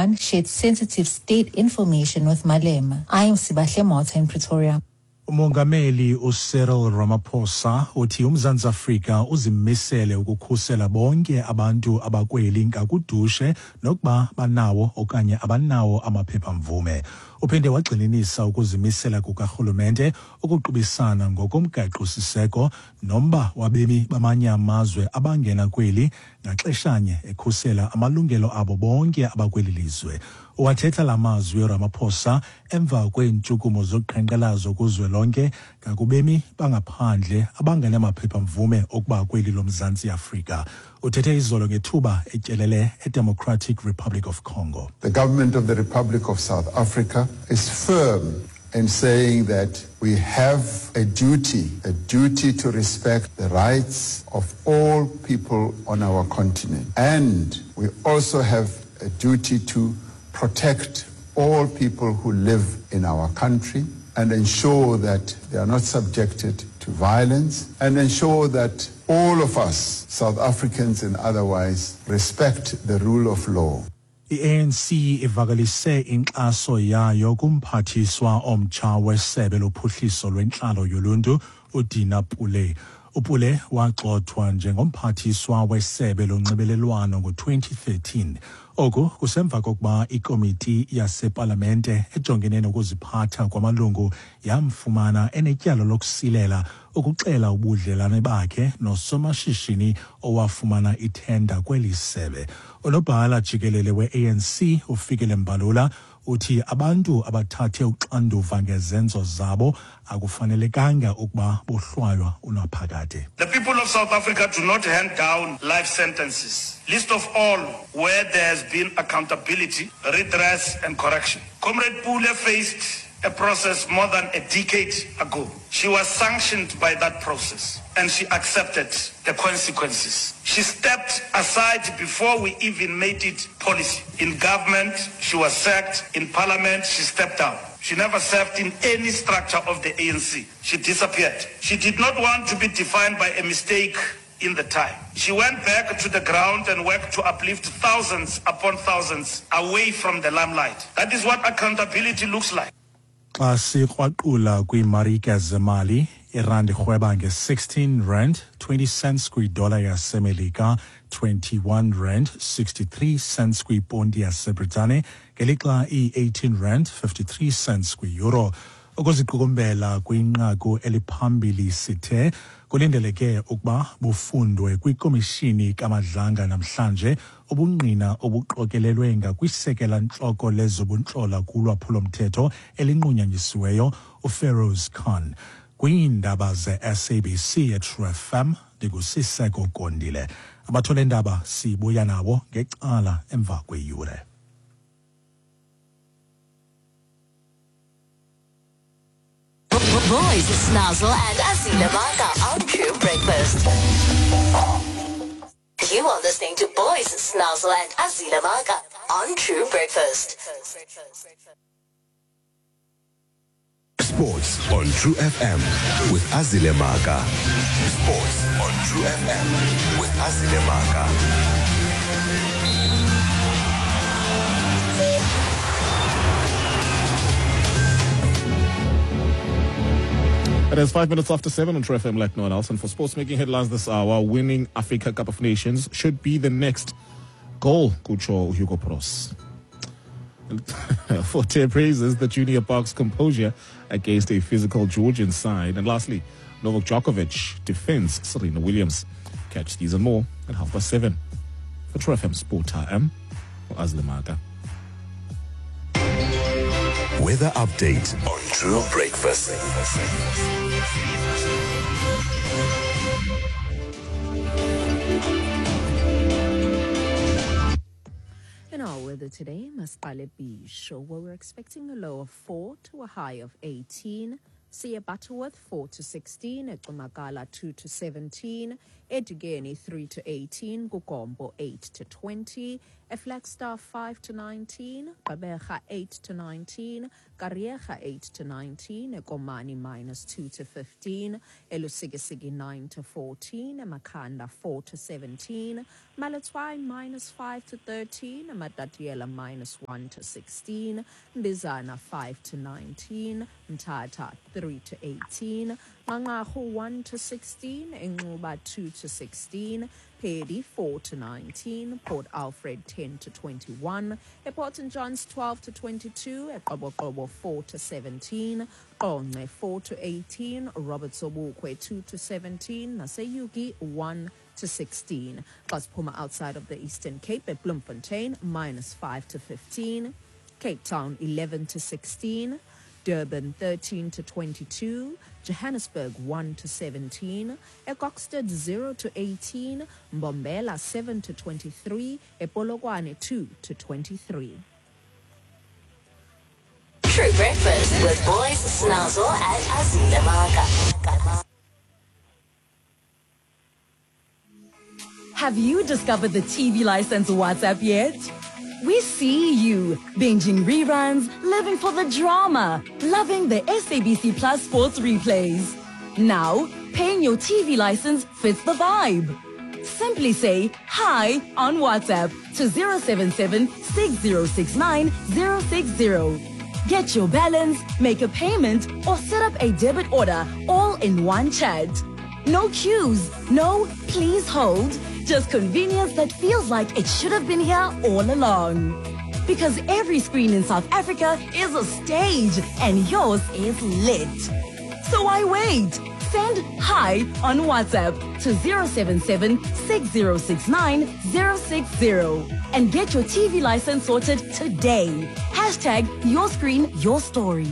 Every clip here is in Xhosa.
Khan shared sensitive state information with Malema. I am Sibahle Motha in Pretoria. Umongameli uCyril Ramaphosa uthi uMzantsi Afrika uzimisele ukukhusela bonke abantu abakweli ngakudushe nokuba banawo okanye abanawo amaphephamvume. Uphinde wagxininisa ukuzimisela kukarhulumente ukuqubisana ngokomgaqo-siseko nomba wabemi bamanye amazwe abangena kweli ngaxeshanye ekhusela amalungelo abo bonke abakweli lizwe. Uwathetha la mazwi Ramaphosa emva kweentshukumo zoqhankqalazo kuzwelonke ngakubemi bangaphandle abangenamaphepha-mvume okuba kweli loMzantsi Afrika. Uthethe izolo ngethuba etyelele eDemocratic Republic of Congo. The government of the Republic of South Africa is firm in saying that we have a duty, a duty to respect the rights of all people on our continent. And we also have a duty to protect all people who live in our country and ensure that they are not subjected to violence and ensure that all of us, South Africans and otherwise, respect the rule of law. I-ANC ivakalise inkxaso yayo kumphathiswa omtsha wesebe lophuhliso lwentlalo yoluntu uDina Pule. uPule wagxothwa njengomphathiswa wesebe lonxibelelwano ngo-2013. Oku kusemva kokuba ikomiti yasepalamente ejongene nokuziphatha kwamalungu yamfumana enetyala lokusilela ukuxela ubudlelane bakhe nosomashishini owafumana ithenda kweli sebe. Unobhala jikelele we-ANC uFikile Mbalula uthi abantu abathathe uxanduva ngezenzo zabo akufanelekanga ukuba bohlwaywa unaphakade. The people of South Africa do not hand down life sentences, least of all where there has been accountability, redress and correction. Comrade Pule faced a process more than a decade ago. She was sanctioned by that process and she accepted the consequences. She stepped aside before we even made it policy. In government, she was sacked. In parliament, she stepped down. She never served in any structure of the ANC. She disappeared. She did not want to be defined by a mistake in the time. She went back to the ground and worked to uplift thousands upon thousands away from the limelight. That is what accountability looks like. Xa sikrwaqula kwiimarike zemali, irandi irhweba nge-16 rand 20 cents kwidola yasemelika, 21 rand 63 cents kwiponti yasebritane, ngelixa iyi-18 rand 53 cents kwiyuro. Ukuziqukumbela kwinqaku eliphambili sithe kulindeleke ukuba bufundwe kwikomishini kaMadlanga namhlanje ubungqina obuqokelelwe ngakwisekela ntloko lezobuntlola kulwaphulomthetho elinqunyanyisiweyo uFeroz Khan. Kwiindaba ze-SABC eTrue FM ndinguSiseko Gondile. Abathole ndaba sibuya nabo ngecala emva kweyure. Boys, Snazzle and Azile Maka on True Breakfast. You are listening to Boys, Snazzle and Azile Maka on True Breakfast. Sports on True FM with Azile Maka. Sports on True FM with Azile Maka. It is 7:05 on True FM like no one else. And for sports making headlines this hour, winning Africa Cup of Nations should be the next goal, kutsho Hugo Broos. Forte praises the junior Boks composure against a physical Georgian side. And lastly, Novak Djokovic defends Serena Williams. Catch these and more at 7:30. For True FM Sport, I am Azile Maka. Weather update on True Breakfast. In our weather today, Masqale Beach, where we're expecting a low of 4 to a high of 18. Siya Butterworth 4 to 16, Ecumakala 2 to 17, eDikeni 3 to 18, kuGompo 8 to 20, eFlagstaff 5 to 19, Gqeberha 8 to 19, Kariega 8 to 19, eKomani minus 2 to 15, eLusikisiki 9 to 14, eMakhanda 4 to 17, Maletswai minus 5 to 13, Matatiele minus 1 to 16, Mbizana 5 to 19, Mthatha 3 to 18, Nqanqarhu 1 to 16, Inxuba 2 to 16, Peddie 4 to 19, Port Alfred 10 to 21, ePort St Johns 12 to 22, eQoboqobo 4 to 17, Qonce 4 to 18, Robert Sobukwe 2 to 17, naseUgie 1 to 16. Xa siphuma outside of the Eastern Cape at Bloemfontein minus 5 to 15, Cape Town 11 to 16, Durban 13 to 22, Johannesburg 1 to 17, eKokstad 0 to 18, Mbombela 7 to 23, ePolokwane 2 to 23. True Breakfast with Boys Snazzle and Azile Maka. Have you discovered the TV license WhatsApp yet? We see you binging reruns, living for the drama, loving the SABC Plus sports replays. Now, paying your TV license fits the vibe. Simply say hi on WhatsApp to 077 6069 060. Get your balance, make a payment, or set up a debit order all in one chat. No queues, no please hold, just convenience that feels like it should have been here all along. Because every screen in South Africa is a stage and yours is lit. So why wait? Send hi on WhatsApp to 077 6069 060 and get your TV license sorted today. Hashtag your screen, your story.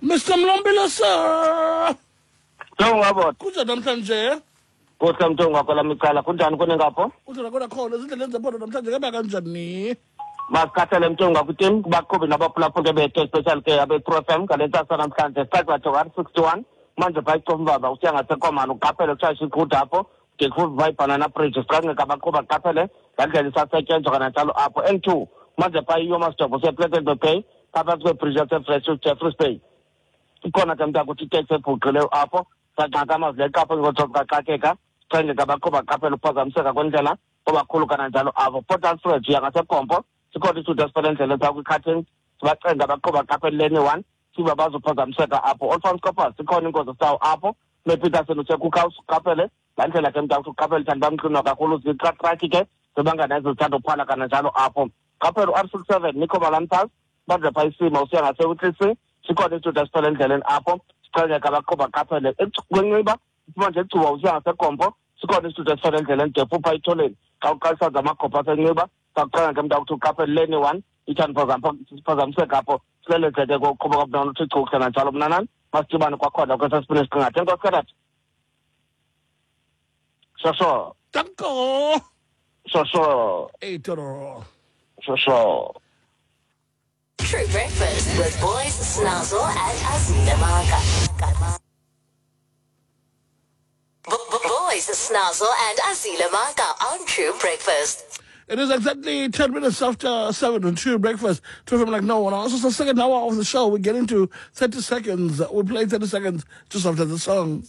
Mr. Mlombila sir. Mntungwa Kunjani namhlanje? Kuhle Mntungwa kwelami icala kunjani kuni ngapho? Kunjani kona khona izindlela zephondo namhlanje kuhamba kanjani? Masikhathele Mntungwa kwitim kubaqhubi nabaphulaphuli bethu especially ke abe-True FM ngale ntsasa namhlanje sicaca 161 manje phaa iCofimvaba usiya ngaseKomani uqaphele kutshayisha iqhude apho de kuva iBanana Bridge siqangqeka abaqhubi baqaphele laa ndlela isasetyenzwa kananjalo apho N2 manje phaa iYomasdorp usePlettenberg Bay phaa phantsi kwebhriji yaseJeffreys Bay ikhona ke mntakuthi iteksi ebhuqileyo apho saxaka amazileqa apho ngojokaxakeka siqengeka abaqhubi baqaphele ukuphazamiseka kwendlela obakhulu kananjalo apho Port Alfred uya ngaseGompo sikhona isithuthi esifela endleleni phaa kwi-Cuttings sibacenga abaqhubi baqaphele lane one siba bazophazamiseka apho Olifants Koppers sikhona ingozi sawo apho mePeterson useCookhouse uqaphele laa ndlela ke mntakuthi uqaphele thandi bamxinwa kakhulu zitratraki ke zibangana ezithanda uphala kananjalo apho qaphele u-R 67 Nico Malan Pass banje phaa isima usiya ngaseWitlisi sikhona isithuthi esifela endleleni apho siqhengeka abaqhubi baqaphele kweNciba uphuma nje eGcuwa usiya ngaseGompo sikhona isithuthi esifela endleleni de phupha itholeni xa uqalisa zamagopha aseNciba sakuqhenga ke mntakuthi uqaphele lane one ithandi phazamiseka apho sileleze ke kokuqhuba kwabunana uthi chukuhle nanjalo mnanani masidibane kwakhona kwesasibini esiqingatha enkosi katata shosho Danko. Shosho Eitoro. Shosho. True Breakfast with Boys Snazzle and Azile Maka. Boys Snazzle and Azile Maka on True Breakfast. It is exactly 10 minutes after 7 on True Breakfast. True FM like no one else. It's the second hour of the show. We get into 30 seconds. We play 30 seconds just after the song.